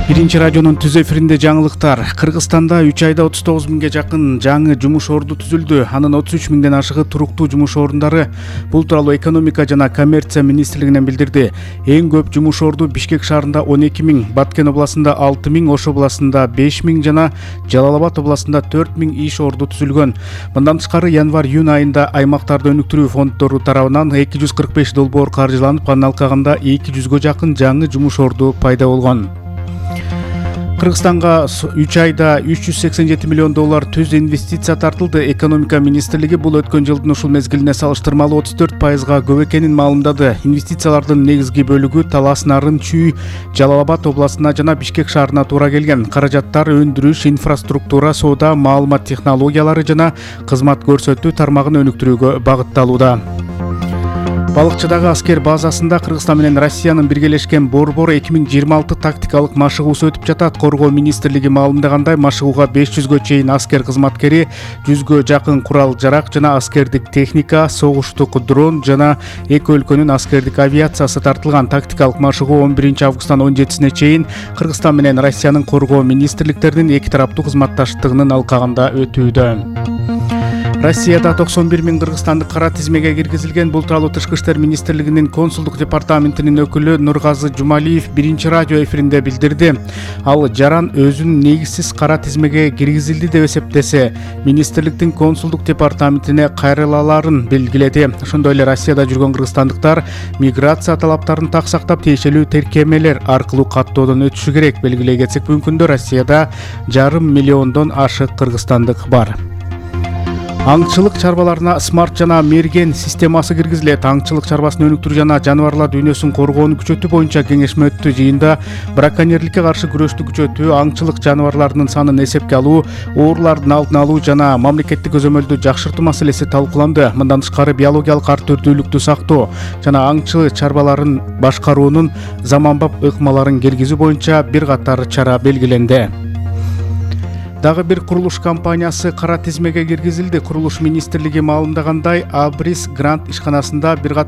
Биринчи радионун түз эфиринде жаңылыктар. Кыргызстанда 3 айда 39 миңге жакын жаңы жумуш орду түзүлдү. Анын 33 миңден ашыгы туруктуу жумуш орундары. Бул тууралуу экономика жана коммерция министрлигинен билдирди. Эң көп жумуш орду Бишкек шаарында 12 миң, Баткен областында 6 миң, Ош областында 5 миң жана Жалал Абад областында 4 миң иш орду түзүлгөн. Мындан тышкары январь-июнь айында аймактарды өнүктүрүү фонддору тарабынан 245 долбоор каржыланып, анын алкагында 200гө жакын жаңы жумуш орду пайда болгон. Кыргызстанга 3 айда 387 миллион доллар түз инвестиция тартылды. Экономика министрлиги бул өткөн жылдын ушул мезгилине салыштырмалуу 34%га көп экенин маалымдады. Инвестициялардын негизги бөлүгү Талас, Нарын, Чүй, Жалал Абад областына жана Бишкек шаарына туура келген. Каражаттар өндүрүш, инфраструктура, соода, маалымат технологиялары жана кызмат көрсөтүү тармагын өнүктүрүүгө багытталууда. Балыкчыдагы аскер базасында Кыргызстан менен Россиянын биргелешкен борбор 2026 тактикалык машыгуусу өтүп жатат. Коргоо министрлиги маалымдагандай, машыгууга 500гө чейин аскер кызматкери, 100гө жакын курал-жарак жана аскердик техника, согуштук дрон жана эки өлкөнүн аскердик авиациясы тартылган. Тактикалык машыгуу 11 августтан 17-сине чейин Кыргызстан менен Россиянын коргоо министрликтеринин эки тараптуу кызматташтыгынын алкагында өтүүдө. Россияда 91 миң кыргызстандык кара тизмеге киргизилген. Бул тууралуу Тышкы иштер министрлигинин консулдук департаментинин өкүлү Нургазы Жумалиев биринчи радио эфиринде билдирди. Ал жаран өзүн негизсиз кара тизмеге киргизилди деп эсептесе, министрликтин консулдук департаментине кайрылааларын белгиледи. Ошондой эле Россияда жүргөн кыргызстандыктар миграция талаптарын так сактап, тиешелүү тиркемелер аркылуу каттоодон өтүшү керек. Белгилей кетсек, бүгүнкү күндө Россияда 5,5 миллиондон ашык кыргызстандык бар. Аңчылык чарбаларына смарт жана мерген системасы киргизилет. Аңчылык чарбасын өнүктүрүү жана жаныбарлар дүйнөсүн коргоону күчөтүү боюнча кеңешме өттү. Жыйында браконьерликке каршы күрөштү күчөтүү, аңчылык жаныбарларынын санын эсепке алуу, оорулардын алдын алуу жана мамлекеттик көзөмөлдү жакшыртуу маселеси талкууланды. Мындан тышкары биологиялык ар түрдүүлүктү сактоо жана аңчы чарбаларын башкаруунун заманбап ыкмаларын киргизүү боюнча бир катар чара белгиленди. Дагы бир курулуш компаниясы кара тизмеге киргизилди. Курулуш министрлиги маалымдагандай, Абрис Грант ишканасында бир